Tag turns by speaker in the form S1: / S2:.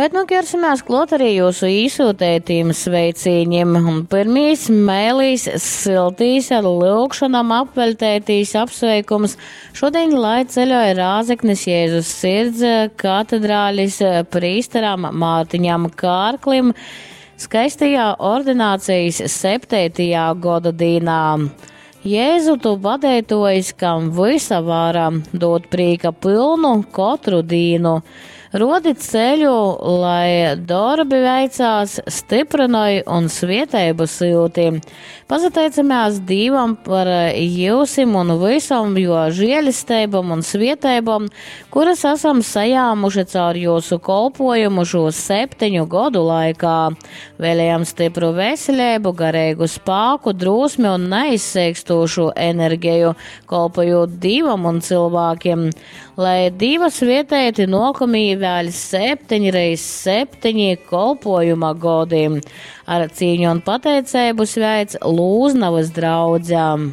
S1: Bet nu ķersimies klāt arī jūsu īsūtētīm sveicīņiem. Un pirmīs mēlīs siltīs ar lūgšanām apveļtētīs apsveikums šodien, lai ceļoja Rāzeknis Jēzus sirds katedrālis prīsteram Mārtiņam Kārklim skaistajā ordinācijas septētajā goda dīnā. Jēzu tu vadētojs, kam visa vara, dod prīka pilnu kotru dīnu. Rodi ceļu, lai darbi veicās, stiprinoj un svieteibu silti. Pasateicamies Dīvam par jūsim un visam, jo žēlesteibam un svieteibam, kuras esam sajāmuši caur jūsu kolpojumu šo septiņu godu laikā. Vēlējam stipru veselību, garīgu spāku, drosmi un neizseikstošu enerģiju, kolpojot Dīvam un cilvēkiem. Lai Dīva svietēti nokamī vēl septiņreiz septiņi kolpojuma godi. Ar cīņu un pateicību sveic Lūznavas draudzēm.